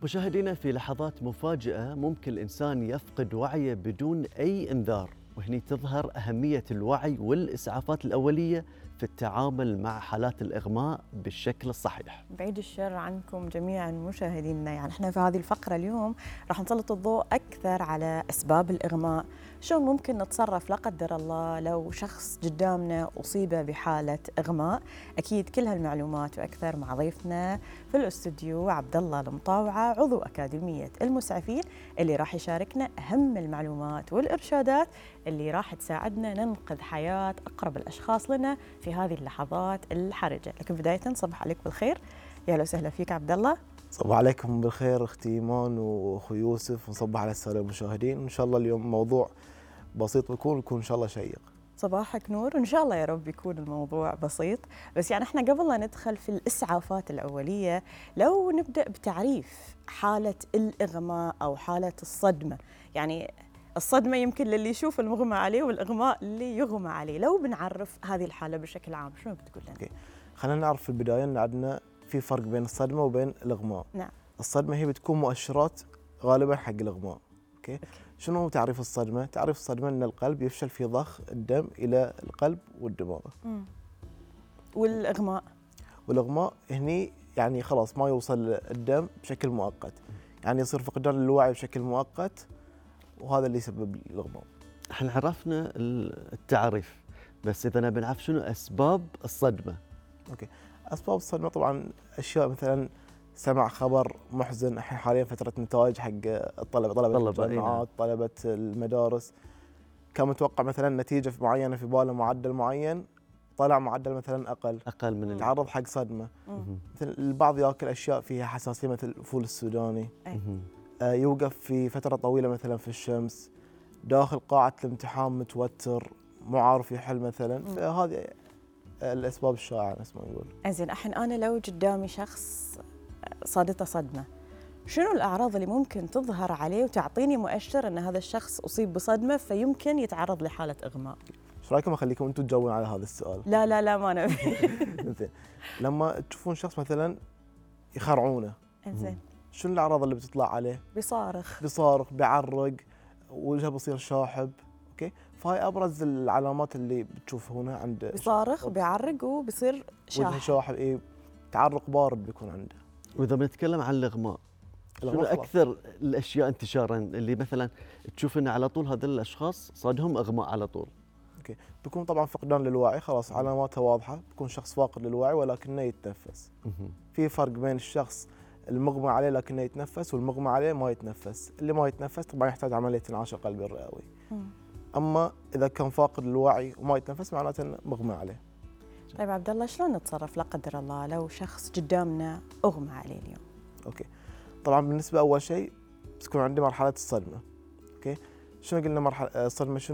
مشاهدينا، في لحظات مفاجئة ممكن الإنسان يفقد وعيه بدون أي إنذار، وهني تظهر أهمية الوعي والإسعافات الأولية في التعامل مع حالات الإغماء بالشكل الصحيح. بعيد الشر عنكم جميعا مشاهدينا، يعني احنا في هذه الفقرة اليوم راح نسلط الضوء أكثر على أسباب الإغماء، شلون ممكن نتصرف لا قدر الله لو شخص قدامنا أصيب بحالة إغماء. أكيد كل هالمعلومات وأكثر مع ضيفنا في الاستوديو عبد الله المطاوعة، عضو أكاديمية المسعفين، اللي راح يشاركنا أهم المعلومات والإرشادات اللي راح تساعدنا ننقذ حياة أقرب الأشخاص لنا في هذه اللحظات الحرجة. لكن بداية صباح عليك بالخير، يا اهلا وسهلا فيك عبد الله. صباح عليكم بالخير اختي ايمان واخوي يوسف، ونصبح على الساده المشاهدين. وان شاء الله اليوم موضوع بسيط ويكون ان شاء الله شيق. صباحك نور، وان شاء الله يا رب يكون الموضوع بسيط. بس يعني احنا قبل لا ندخل في الاسعافات الاوليه، لو نبدا بتعريف حاله الاغماء او حاله الصدمه. يعني الصدمه يمكن للي يشوف المغمى عليه، والاغماء اللي يغمى عليه. لو بنعرف هذه الحاله بشكل عام، شنو بتقول لنا؟ خلينا نعرف في البدايه ان عندنا في فرق بين الصدمه وبين الاغماء. نعم. الصدمه هي بتكون مؤشرات غالبا حق الاغماء. اوكي. شنو هو تعريف الصدمه؟ تعريف الصدمه ان القلب يفشل في ضخ الدم الى القلب والدماغ. والاغماء هني يعني خلاص ما يوصل الدم بشكل مؤقت، يعني يصير فقدان الوعي بشكل مؤقت، وهذا اللي يسبب الاغماء. احنا عرفنا التعريف، بس اذا نبي نعرف شنو اسباب الصدمه. اوكي. اسباب الصدمه طبعا اشياء مثلا سمع خبر محزن، الحين حاليا فتره نتائج حق طلبه الجامعات، طلبه المدارس، كان متوقع مثلا نتيجه معينه في باله معدل معين، طلع معدل مثلا اقل من تعرض حق صدمه. مثل البعض ياكل اشياء فيها حساسيه مثل الفول السوداني، يوقف في فتره طويله مثلا في الشمس، داخل قاعه الامتحان متوتر، مو عارف يحل مثلا. فهذه الاسباب الشائعه نفس ما نقول. زين، الحين انا لو قدامي شخص صادته صدمه، شنو الاعراض اللي ممكن تظهر عليه وتعطيني مؤشر ان هذا الشخص اصيب بصدمه فيمكن يتعرض لحاله اغماء؟ ايش رايكم اخليكم انتم تجاوبون على هذا السؤال؟ لا ما نبي. زين. لما تشوفون شخص مثلا يخرعونه، زين، شنو الاعراض اللي بتطلع عليه؟ بيصارخ، بيعرق، وجهه بيصير شاحب. اوكي. فهاي ابرز العلامات اللي بتشوفها هنا عند بيصارخ، بيعرق، وبيصير شاحب. وجهه شاحب، تعرق بارد بيكون عنده. واذا بنتكلم عن الاغماء، شنو اكثر الاشياء انتشارا اللي مثلا تشوف ان على طول هذول الاشخاص صادهم اغماء على طول؟ اوكي. بيكون طبعا فقدان للوعي، خلاص علاماتها واضحه، بيكون شخص فاقد للوعي ولكنه يتنفس. في فرق بين الشخص المغمى عليه لكنه يتنفس، والمغمى عليه ما يتنفس. اللي ما يتنفس طبعا يحتاج عمليه انعاش القلبي الرئوي. اما اذا كان فاقد للوعي وما يتنفس معناته انه مغمى عليه. طيب عبد الله، شلون نتصرف لا قدر الله لو شخص قدامنا اغمى عليه اليوم؟ اوكي. طبعا بالنسبه اول شيء بتكون عندي مرحله الصدمه. اوكي. شنو قلنا مرحله الصدمه شنو